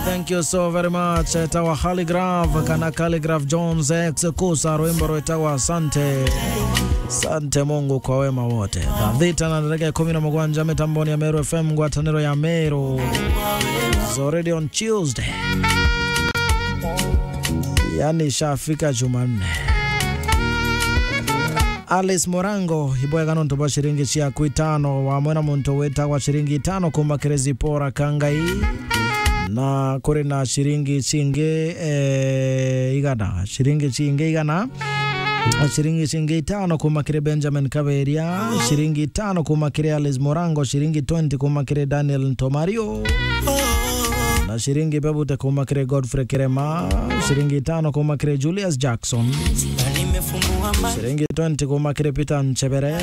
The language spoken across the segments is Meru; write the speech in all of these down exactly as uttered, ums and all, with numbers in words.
Thank you so very much. Etawa Calligraph, kana Calligraph Jones X Kusa, rwimbo rwetagwa Asante. Asante Mungu kwa wema wote. Thaa thita na ndagika ikumi na mugwanja mitamboni ya Meru F M, ngwataniro ya Meru. It's already on Tuesday. Yani ishafika Jumanne. Alice Morango, ibwega nontu bwa ciringi ciaku itano, wamwe na muntu witagwa ciringi itano kuma kiri Zipora Kangai. Na kuri na ciringi cingi, eh, igana. Ciringi cingi igana. Ciringi cingi itano kuma kiri Benjamin Kaberia. Ciringi itano kuma kiri Alice Morango. Ciringi twenty kuma kiri Daniel Ntomario. Na ciringi bebute kuma kiri Godfrey Kirema. Ciringi itano kuma kiri Julius Jackson. Ciringi twenty kuma kiri Peter Nchebere.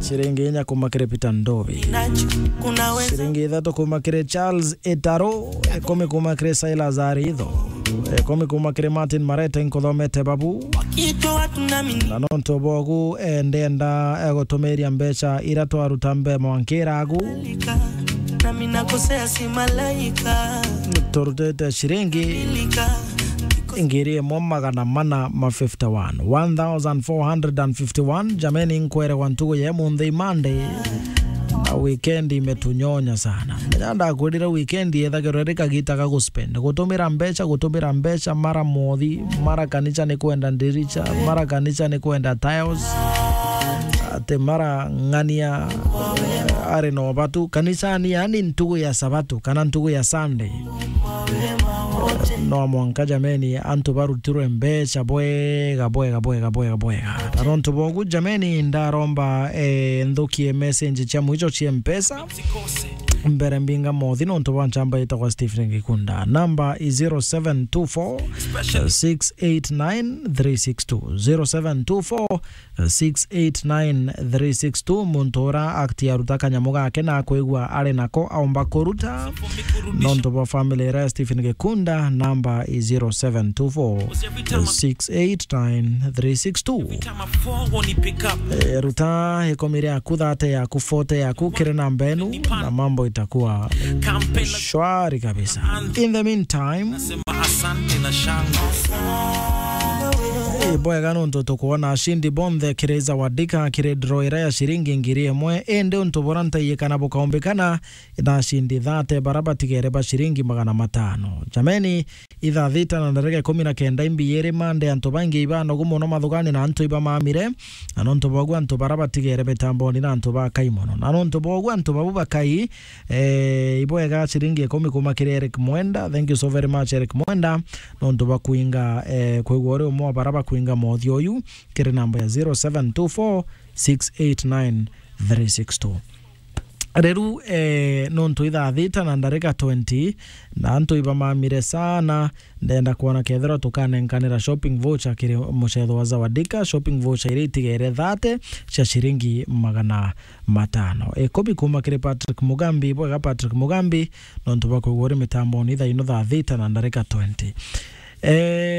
Ciringi inya kuma kiri Peter Ndobi. Ciringi ithatu kuma kiri Charles Etaro. Ikumi kuma kiri Silas Aritho. Ikumi kuma kiri Martin Marete, nkuthomete babu. Na nontu bogu, eh, ndenda, eh, gutumiria mbeca ira twaruta mbe mwankiragu. Turutite ciringi ngiri imwe magana mana ma fifty one. One thousand four hundred and fifty one. Jameni, nkwerewa ntugu ya munthi Monday. Na weekend imetunyonya sana. Menya ndakwirire weekend yethagirwa iri kagita ga guspend. Gutumira mbeca, gutumira mbeca, mara mothi, mara kanisa ni kwenda ndiricha, mara kanisa ni kwenda tiles. Ati mara ng'ania, eh, ari no batu. Kanisani, yani ntugu ya Sabato, kana ntugu ya Sunday. No mwanka jameni, antu barutirwe mbeca bwega, bwega, bwega, bwega, bwega. Na nontu bogu jameni, ndaromba, eh, nthukie message cia mwicho cia Mpesa. Mbere mbinga mothi nontu bwa nchamba itagwa Stephen Gikunda. Number is zero seven two four, six eight nine, three six two. Zero seven two four, six eight nine three six two. Muntu ura akti aruta kanyamu gake na akwigua ari nako aomba kuruta. Nontu bwa family ira ya Stephen Gikunda, number is zero seven two four, six eight nine three six two. Eh, ruta ikumi riaku, thirty yaku, forty yaku, kiri namba enu, na mambo itakuwa shwari kabisa. In the meantime, Asante na shangwe. Eh, bwega nontu tukwona ashindi bonthe kiri Zawadika, kiri draw ira ya ciringi ngiri imwe. Indi untu bura ntaiyikana bukaumbikana na ashindi thirty bara batigere ba ciringi magana matano. Jameni, ithaa thita na ndarika ikumi na kenda imbi iri Monday, antu baingi ibanogu muno mathugani na antu ibamamire. Na nontu bogu antu bara batigere mitamboni na antu bakai muno. Na nontu bogu antu babu bakai, eh, ibwega ciringi ikumi kuma kiri Eric Mwenda. Thank you so very much, Eric Mwenda. Nontu bakwinga, eh, kwigua uri umwe wa bara bakwinga mothio uyu, kiri namba ya zero seven two four, six eight nine, three six two. Riu, eh, nontu ithaa thita na ndarika twenty, na antu ibamamire sana, ndenda kwona kethirwa tukanenkanira shopping voucher kiri mucetho wa Zawadika, shopping voucher iria itigere thirty cia ciringi magana matano. Ikumi kuma kiri Patrick Mugambi, bwega Patrick Mugambi, nontu bwa kwigua uri mitamboni thaa ino thaa thita na ndarika twenty. Eh,